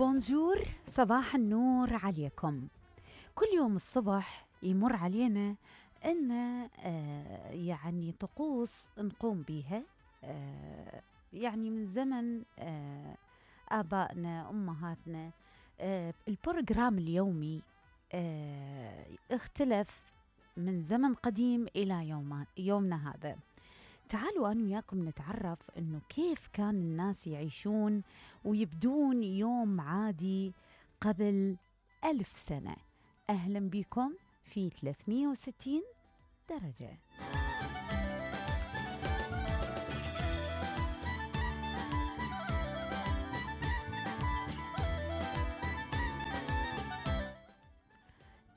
بونجور، صباح النور عليكم. كل يوم الصبح يمر علينا أن يعني طقوس نقوم بيها، يعني من زمن آبائنا أمهاتنا. البروجرام اليومي اختلف من زمن قديم إلى يومنا هذا. تعالوا أنا وياكم نتعرف أنه كيف كان الناس يعيشون ويبدون يوم عادي قبل 1000 سنة. أهلا بكم في 360 درجة.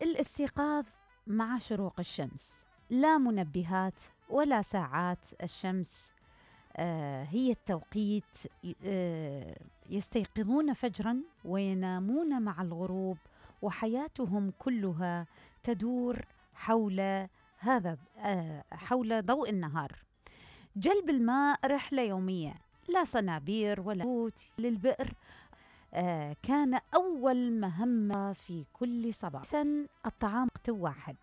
الاستيقاظ مع شروق الشمس، لا منبهات ولا ساعات الشمس هي التوقيت. يستيقظون فجرا وينامون مع الغروب، وحياتهم كلها تدور حول ضوء النهار. جلب الماء رحلة يومية، لا صنابير ولا بوت للبئر. كان أول مهمة في كل صباح. الطعام وقت واحد.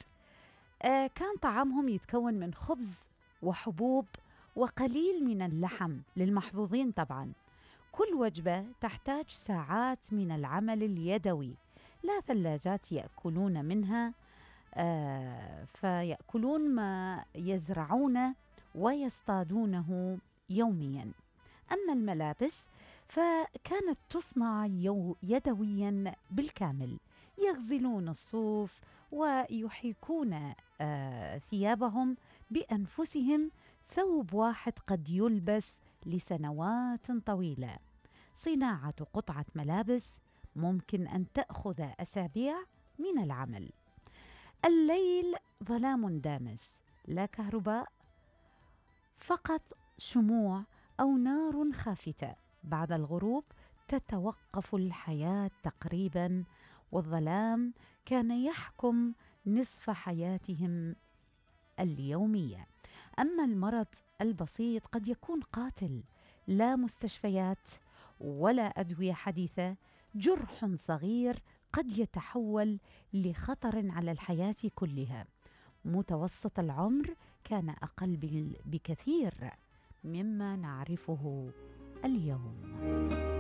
كان طعامهم يتكون من خبز وحبوب وقليل من اللحم للمحظوظين طبعا. كل وجبة تحتاج ساعات من العمل اليدوي، لا ثلاجات يأكلون منها، فيأكلون ما يزرعون ويصطادونه يوميا. أما الملابس فكانت تصنع يدويا بالكامل، يغزلون الصوف ويحيكون ثيابهم بأنفسهم. ثوب واحد قد يلبس لسنوات طويلة. صناعة قطعة ملابس ممكن أن تأخذ أسابيع من العمل. الليل ظلام دامس، لا كهرباء، فقط شموع أو نار خافتة. بعد الغروب تتوقف الحياة تقريبا، والظلام كان يحكم نصف حياتهم اليومية. أما المرض البسيط قد يكون قاتل، لا مستشفيات ولا أدوية حديثة. جرح صغير قد يتحول لخطر على الحياة كلها. متوسط العمر كان أقل بكثير مما نعرفه اليوم.